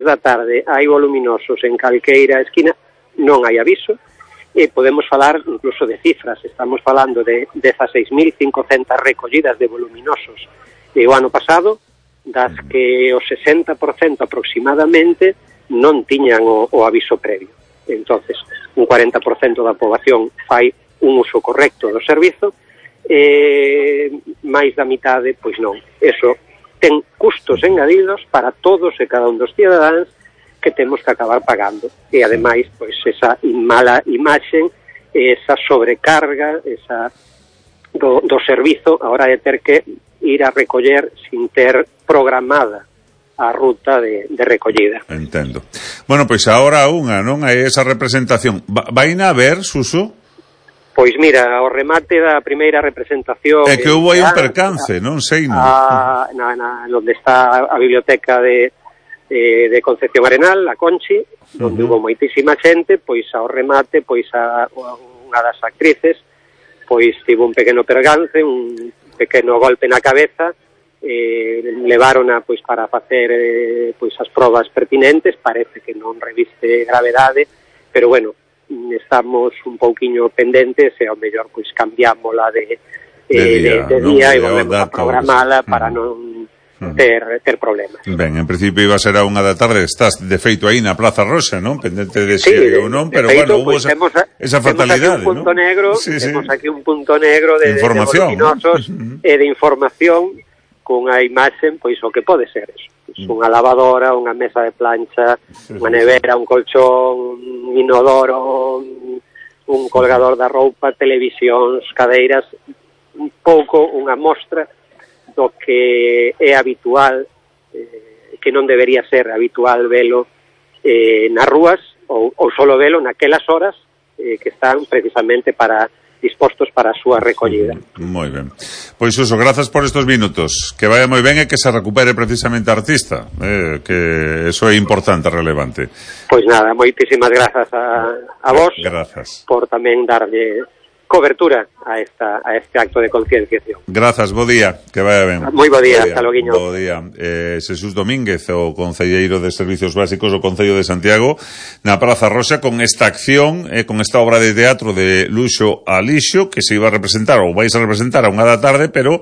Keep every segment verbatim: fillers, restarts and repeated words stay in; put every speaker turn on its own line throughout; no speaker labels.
da tarde hai voluminosos en calqueira esquina, non hai aviso, e podemos falar incluso de cifras. Estamos falando de dezaseis mil cincocentas recollidas de voluminosos e o ano pasado, das que o sesenta por cento aproximadamente non tiñan o, o aviso previo. Entonces, un cuarenta por cento da poboación fai un uso correcto do servizo, e máis da mitade, pois non. Eso ten custos engadidos para todos e cada un dos cidadáns que temos que acabar pagando. E, ademais, pois, esa mala imaxe, esa sobrecarga, esa do, do servizo, a hora de ter que ir a recoller sin ter programada a ruta de, de recollida.
Entendo. Bueno, pois agora unha, non? Hai esa representación. Vaina a ver, Suso?
Pois mira, ao remate da primeira representación...
É que houve aí un percance, non sei, non?
A, na, na, onde está a biblioteca de, de, de Concepción Arenal, a Conchi, onde uh -huh. hubo moitísima xente, pois ao remate, pois a, unha das actrices, pois tivo un pequeno percance, un pequeno golpe na cabeza, eh, levarona pois para facer eh, pois as probas pertinentes, parece que non reviste gravedade, pero bueno, estamos un pouquiño pendentes e ao mellor pois cambiámola de, eh, de día, de, de no, día e volvemos a programala para uh -huh. non ter, ter problemas.
Ben, en principio iba a ser a unha da tarde, estás de feito aí na Plaza Roxa, non? Pendente de
sí,
si ou non, pero
feito,
bueno, hubo
pues,
esa,
temos a,
esa fatalidade,
temos aquí un punto
¿no?
negro,
sí,
temos
sí.
aquí un punto negro de,
información,
de voluminosos uh -huh. e de información cunha imaxe, pois o que pode ser eso. Pois, unha lavadora, unha mesa de plancha, sí, unha nevera, un colchón, un inodoro, un, un colgador da roupa, televisións, cadeiras, un pouco unha mostra do que é habitual, eh, que non debería ser habitual velo eh, nas rúas, ou, ou solo velo naquelas horas eh, que están precisamente para dispostos para a súa recollida.
Moi ben. Pois Suso, grazas por estos minutos. Que vaya moi ben e que se recupere precisamente a artista, eh, que eso é importante, relevante.
Pois nada, moitísimas grazas a, a vos.
Grazas.
Por tamén darlle cobertura a esta a este acto de concienciación.
Grazas, bo día, que vaya ben.
Moi bo día, hasta loguiño.
Bo día. Eh, Xesús Domínguez, o concelleiro de Servicios Básicos do Concello de Santiago, na Praza Roxa, con esta acción, eh, con esta obra de teatro de Luxo a Lixo, que se iba a representar, ou vais a representar a unha da tarde, pero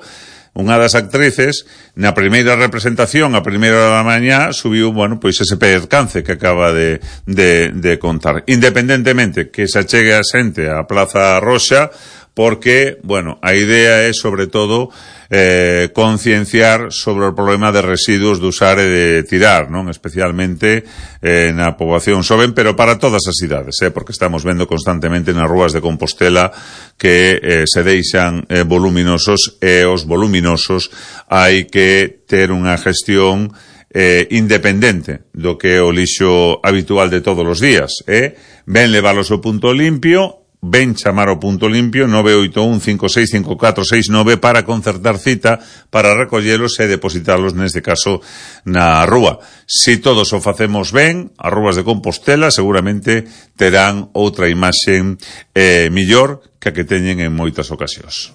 unha das actrices, na primeira representación, a primeira da mañá, subiu, bueno, pois ese percance que acaba de, de, de contar. Independentemente que se achegue a xente á Plaza Roxa, porque, bueno, a idea é, sobre todo, eh, concienciar sobre o problema de residuos de usar e de tirar, non? Especialmente eh, na poboación xoven, pero para todas as idades, eh? Porque estamos vendo constantemente nas rúas de Compostela que eh, se deixan eh, voluminosos, e os voluminosos hai que ter unha gestión eh, independente do que é o lixo habitual de todos os días, eh? Ben leválos ao punto limpio, ven chamar ao punto limpio nove oito un cinco seis cinco catro seis nove para concertar cita para recollelos e depositalos, neste caso, na rúa. Si todos o facemos ben, as rúas de Compostela seguramente terán outra imaxe eh, millor que a que teñen en moitas ocasións.